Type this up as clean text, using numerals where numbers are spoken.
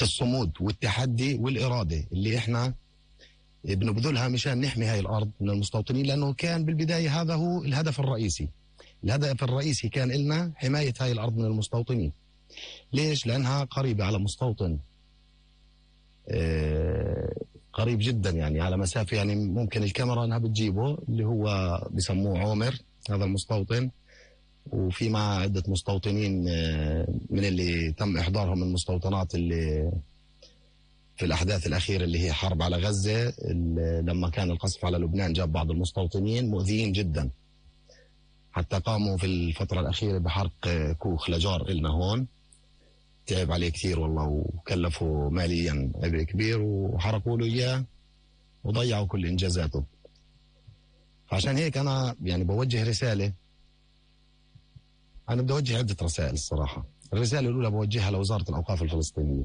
الصمود والتحدي والإرادة اللي إحنا بنبذلها مشان نحمي هاي الأرض من المستوطنين، لأنه كان بالبداية هذا هو الهدف الرئيسي. الهدف الرئيسي كان إلنا حماية هاي الأرض من المستوطنين. ليش؟ لأنها قريبة على مستوطن قريب جدا، يعني على مسافة، يعني ممكن الكاميرا أنها بتجيبه، اللي هو بسموه عومر هذا المستوطن، وفي مع عدة مستوطنين من اللي تم إحضارهم من المستوطنات اللي في الأحداث الأخيرة اللي هي حرب على غزة. لما كان القصف على لبنان جاب بعض المستوطنين مؤذيين جدا، حتى قاموا في الفترة الأخيرة بحرق كوخ لجار إلنا هون، تعب عليه كثير والله، وكلفوا ماليا عبء كبير، وحرقوا له إياه وضيعوا كل إنجازاته. فعشان هيك أنا يعني بوجه رسالة. أنا بدي أوجه عدة رسائل الصراحة. الرسالة الأولى بوجهها لوزارة الأوقاف الفلسطينية.